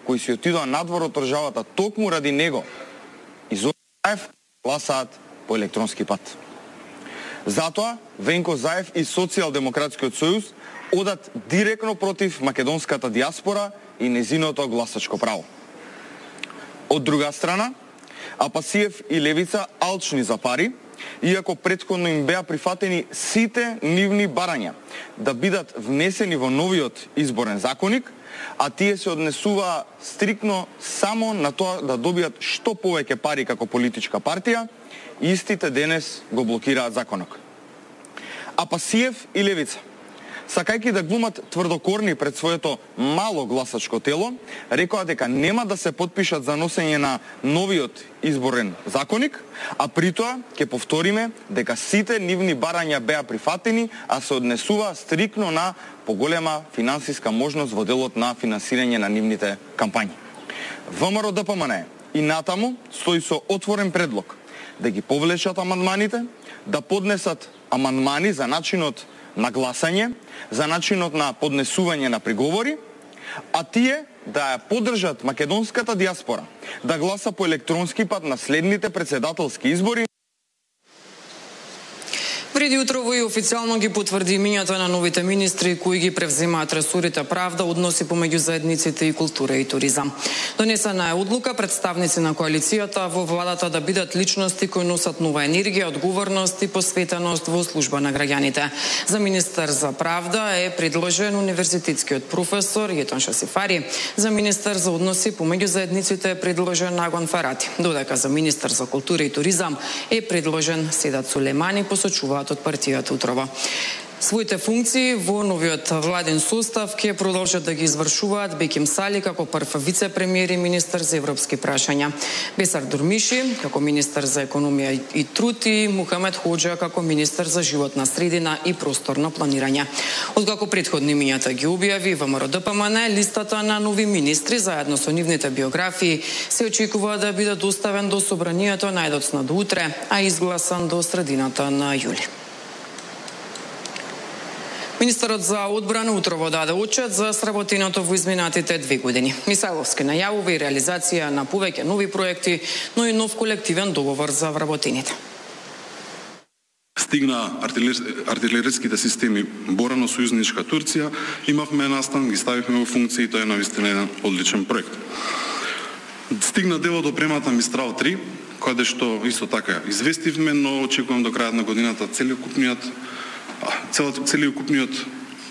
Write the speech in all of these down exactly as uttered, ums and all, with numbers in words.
кои си отидоа надвор од државата токму ради него и Зоран Заев гласаат по електронски пат. Затоа Венко Заев и Социјалдемократскиот сојуз одат директно против македонската диаспора и незиното гласачко право. Од друга страна, Апасиев и Левица алчни за пари, иако претходно им беа прифатени сите нивни барања да бидат внесени во новиот изборен законник, а тие се однесуваа стрикно само на тоа да добијат што повеќе пари како политичка партија, истите денес го блокираат законот. Апасиев и Левица, сакајќи да глумат тврдокорни пред своето мало гласачко тело, рекоа дека нема да се потпишат за носење на новиот изборен законник, а притоа ќе повториме дека сите нивни барања беа прифатени, а се однесува стрикно на поголема финансиска можност во делот на финансирање на нивните кампањи. ВМРО Д П М Н и натаму стои со отворен предлог да ги повлечат амандманите, да поднесат амандмани за начинот на гласање, за начинот на поднесување на приговори, а тие да ја поддржат македонската диаспора да гласа по електронски пат на следните председателски избори. Преди утрово и официјално ги потврди имињата на новите министри кои ги превземаат ресорите правда, односи помеѓу заедниците и култура и туризам. Донесена е одлука представници на коалицијата во владата да бидат личности кои носат нова енергија, одговорност и посветеност во служба на граѓаните. За министер за правда е предложен универзитетскиот професор Јетон Шасифари. За министер за односи помеѓу заедниците е предложен Нагон Фарати. Додека за министер за култура и туризам е предложен Седат Сулемани, посочува од партијата Утрова. Своите функции во новиот владен состав ќе продолжат да ги извршуваат Беким Сали како прв вице-премиер и министер за европски прашања, Бесар Дурмиши како министер за економија и труд и Мухамед Хоџа како министер за животна средина и просторно планирање. Откако претходни имињата ги објави ВМРО Д П М Н, листата на нови министри заедно со нивните биографии се очекува да биде доставен до собранието најдоцна до утре, а изгласан до средината на јули. Министерот за одбрана утрово даде отчет за сработеното во изминатите две години. Мисајловски најавува и реализација на повеќе нови проекти, но и нов колективен договор за вработените. Стигна артилериските системи Борано, сојузничка Турција, имавме настан, ги ставивме во функција и тоа е навистина еден одличен проект. Стигна дело до премата Мистрал три, каде што исто така известивме, но очекувам до крајот на годината целокупниот целокупниот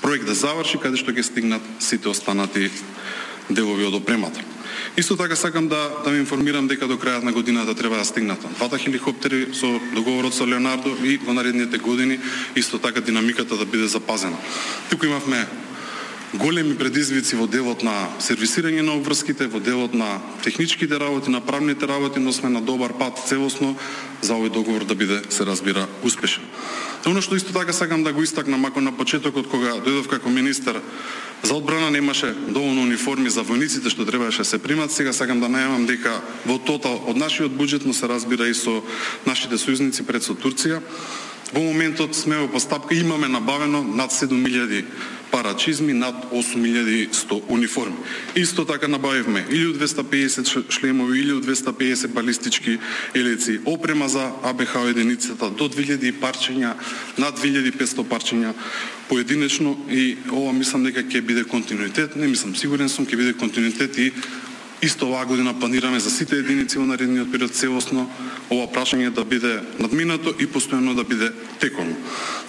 проект да заврши, каде што ќе стигнат сите останати делови од опремата. Исто така сакам да да ме информирам дека до крајот на годината треба да стигнат двата хеликоптери со договорот со Леонардо и во наредните години исто така динамиката да биде запазена. Туку имавме големи предизвици во делот на сервисирање на обврските, во делот на техничките работи, на правните работи, но сме на добар пат целосно за овој договор да биде, се разбира, успешен. Оно што исто така сакам да го истакнам, мако на почетокот кога дојдов како министер за одбрана немаше доволно униформи за војниците што требаше да се примат, сега сакам да најавам дека во тотал од нашиот буџет, но се разбира и со нашите сојузници пред со Турција, во моментот сме во постапка, имаме набавено над седум илјади пара чизми, над осум илјади и сто униформи. Исто така набавивме илјада двесте и педесет шлемови, илјада двесте и педесет балистички елеци, опрема за А Б Х единицата до две илјади парчења, над две илјади и петсто парчења поединечно, и ова мислам дека ќе биде континуитет, не мислам, сигурен сум ќе биде континуитет и исто оваа година планираме за сите единици во наредниот период целосно ова прашање да биде надминато и постојано да биде теком.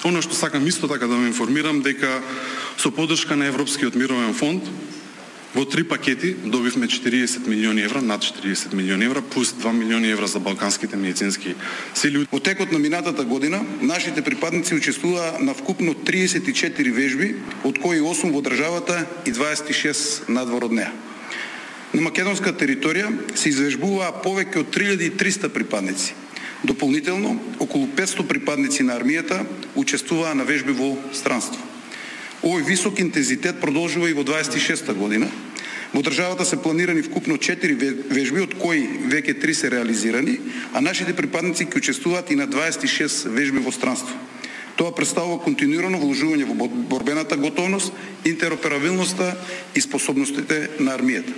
Оно што сакам исто така да ме информирам дека со поддршка на Европскиот мировен фонд во три пакети добивме четириесет милиони евра, над четириесет милиони евра, плюс два милиони евра за балканските медицински сили. Во текот на минатата година нашите припадници учествуваа на вкупно триесет и четири вежби, од кои осум во државата и дваесет и шест надвор од неа. На македонска територија се извежбуваа повеќе од три илјади и триста припадници. Дополнително, околу петсто припадници на армијата учествуваа на вежби во странство. Овој висок интензитет продолжува и во дваесет и шеста година. Во државата се планирани вкупно четири вежби, од кои веќе три се реализирани, а нашите припадници ќе учествуваат и на дваесет и шест вежби во странство. Тоа представува континуирано вложување во борбената готовност, интероперабилноста и способностите на армијата.